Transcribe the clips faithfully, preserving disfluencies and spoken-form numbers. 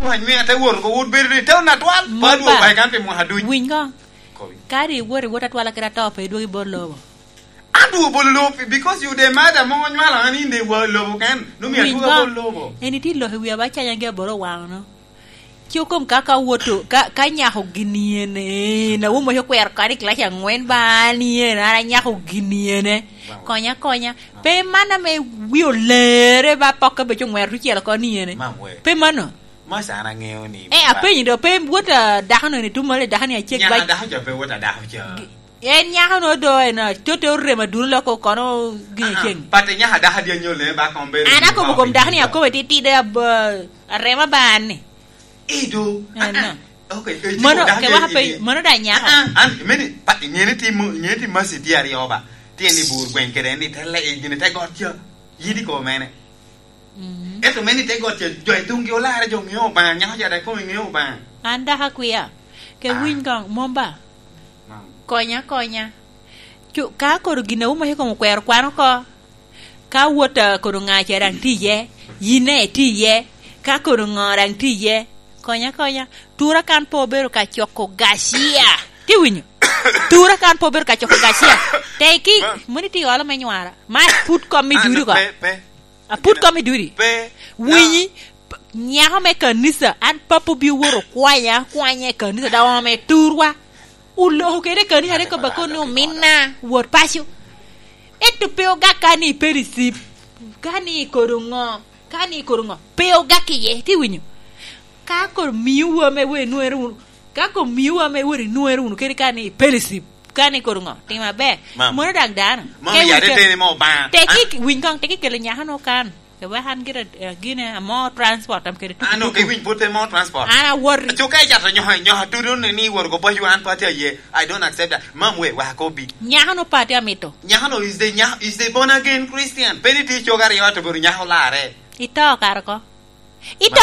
Wany me ate wot oko, wot bedo ni tewon atwal, pa Mumba. Dwoko bayi kan pi mwaka duc. Winy ko. Kobi. Kadi iwot, iwot atwala kede atoo, pe idwogo i bot lobo. Adwogo bot lobo, because you the mother mo onywalo an in the wa-, lobo ken. Numi Winy adwogo ko. Bot lobo. En itye lok i wi abacanya gi aboro waŋo no. Ci okom ka, ka woto, ka, ka nyako gini en, en, awomo yo kwero kadi i kilaci angwen ba an yen, an anyako gini ene. Wow. Konya, konya. Pe man ame wi olere ba pokke beco ngwero tucel oko ni ene. Mam we. Pe mano. Masa an aŋeo ni Eh, apenyi do, pe wot a dako no ni tum mare dako ni acek Nyaka ba dako ca pe wot a dako ca. Gi-, en nyako no do en a, tote orem aduno loko kono gin Aha, ceng. Pate nyaka dako adi anyol ne ba kom bedo An ni akobo kom dako ni akobo titide ab-, arema ba an ni. Ido. Eh, Ah, ah. no. Okay, eh, Mono, tipo dako ke waka pe, eh, mono da nyako. Ah, ah, an, meni, pa, ngeni timo, ngeni timo masi tye aryo ba. Tye ni bur gweng kede ni te le, gini te got ca. Yidi ko mene. Mhm. Ento meni te got ca, jo i tungi olarre, jo ŋeo Obaŋa, nyako ca dek kome ŋeo Obaŋa. An dako akwia. Ke Ah. winy kong, mom ba? Mam. Konya, konya. Cu-, ka koro gin a umo i kom okwero kwano oko, ka wot a kono ŋa ce daŋ tye iye, yin daŋ itye iye, ka kono ŋo daŋ tye iye, konya, konya. Tura kan pe obedo ka coko gacia. Ti winyo? Tura kan pe obedo ka coko gacia. Teki, Ma- moni ti olo me nywara. Ma put kom i Ah, dudi no, ko. pe, pe. Aput kom i dudi. Pe. Winyi, Ya. p-, nyako me kanisa, an papo bi oworo kwanya, kwanya i kanisa, da ome turwa. Oloko kede kanisa, ariko ba kono ni ominna, wot paco. Ento pe ogak ka ni fellowship, ka ni kodo ŋo, ka ni kodo ŋo, pe ogak iye, ti winyo. Ka kono mio wa me wer nwere wunu, ka kono mio wa me wer nwere wunu kede ka ni fellowship, ka ni kodo ŋo, tim aber. Mam. Mono daŋ dano. Mam, Ke ya wun te ke-, teni mo ba. Teki, Ah. winy kong, teki kelo nyaka no kan. Ke wek an gire, eh, gine amo transport am kede tuku Ano, tuku. Ke winy put te mo transport. An awor. Aco ka icato nyoka, nyoka tudo ni, ni wor go boy wan party aye. I don't accept that. Mam we, wa kobi. Nyaka no party amito. Nyaka no is the, nya-, is the born again Christian. Pe ni ti coga ryo to boro nyaka olare. Ito kare ko. Ito.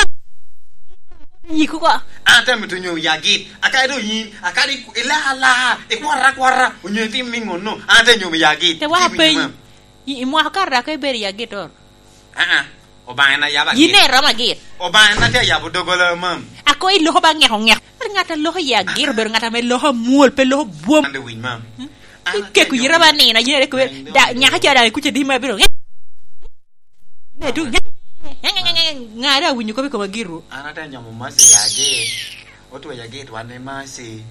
Nyiku ko. An te mito nyo ya git. Akadi do yin, akadi ila ala, ikwara kwara, onyo itim mi ngono. An te nyo ya git. Te wa Ti winyo peny. Mam. I, i mwaka kare dako ibedo ya git or. Ah, ah. Obaŋa en ayaba Yin git. Ne romo agit. Obaŋa en atye ayabo dogola mam. Ako iloko ba ngeko ngeko. Ŋat a loko ya git obedo ŋat ame loko amwol, pe loko bwom. An de winy mam. Hmm? An Ikeko atye yira nyo ba nino, yin areko, Nino. Da, nyaka ca daŋ ikuca di ma bino. Ne tu, ŋa, ŋa, ŋa, ŋa, ŋa, ŋa, ŋa, da winyo kop i koma giro. An ate nyomo Mercy ya git. Otweya git wan ni Mercy.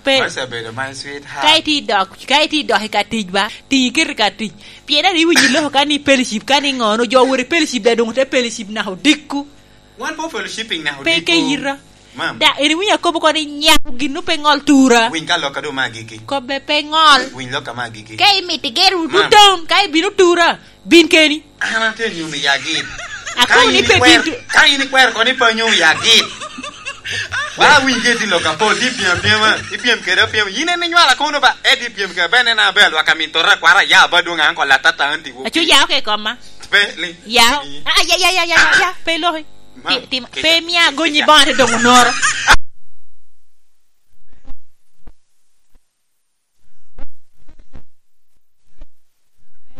Pe. Mercy obedo my sweetheart. Ka iti dok, ka iti dok i ka tic ba, ti iketi ka tic. Pien ari winyo loko ka ni fellowship, ka ni ŋono, jo wori fellowship da dong te fellowship naka odikku. Wan po fellowshipping naka Pe odikku. Ke yira. Mam. Da, eri winyo akobo koni nyako gin pe ŋol tura. Winy ka lok a do ma agiki. Kobbe pe ŋol. Winy lok a ma agiki. Ka imito igero Mam. Tutom, ka ibino tura, bin keni. An atye nyom i agit. Akobo Ka ni in pe ikwer-, bin tu- ka in ikwer koni pe nyom i agit. Ba winy geti lok apol, ti pyem apyema, ipyem kede apyema. Yin en inywala kono ba, edi pyem kede ben en abel, waka min tota kwara ya ba dwong an ko latata anti wo. Acu ya oke koma. Pe, li. Ya. Li. Ah, ya, ya, ya, ya, ya, ya, pe loki. Mam, Ti-, ti-, kece, pe mia kece, gonyi kece. Bongo te dong onoro.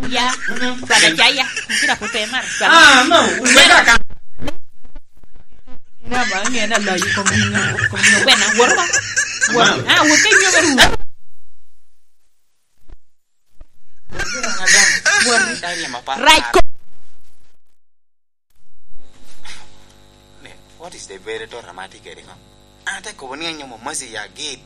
Ya. Kwada ca ya. Kira po pe mar. Ah, no. Wega ka. Na ba nge na lo yi kom ni. Kom ni wena. Wor ba. Wor. Ah, wor ke nyo meru. Right. Ne, what is the very thought am I thinking? An ate kobo ni anyomo Mercy ya git.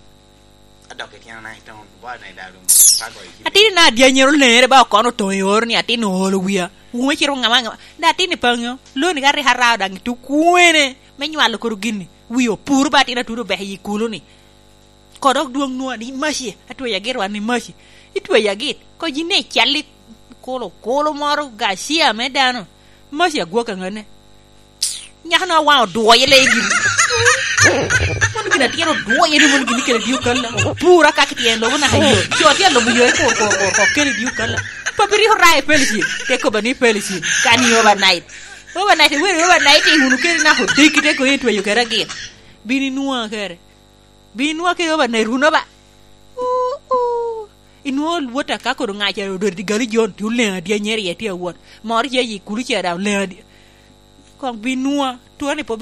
Adok i tyena na i town, ba na i dalo, ka go i Atino na adi anyero lere ba okono otoŋo i oro ni atin oolo wia. Wume ciro ŋama ŋama. Da atin i paŋo. Loni ka rik arao daŋ i tuk kwene. Me nywalo koro gini. Wi opur ba atin atudo obek i kulu ni. Kodok dwoŋ nwa ni Mercy, atweyo agit wan ni Mercy. Itweyo agit, ko yin ne ical i kulo, kulo moro gacia me dano. Mercy agwok aŋane. Nyaka no awaŋ odwoye le gini. Mon gini atye odwoye ni mon gini kene dio kalla. Pura ka kitye lobo naka yo. Jo atye lobo yo e kur, kur, kur, kur, kene dio kalla. Papi rik oraye fellowship. Te koba ni fellowship. Kan i overnight. Overnight, iwero overnight i unu kene naka odiki te ko itweyo kere agit. Bini nwa kere. Bin inwa kede overnight runo ba. Uu, uu. Inwa wot aka kodo ŋaca odot i gali jon, ti oleŋ adi anyeri ye ti awot. Moro ce yi kulu ce da oleŋ adi. Kong bin nwa, tuo ni po bedo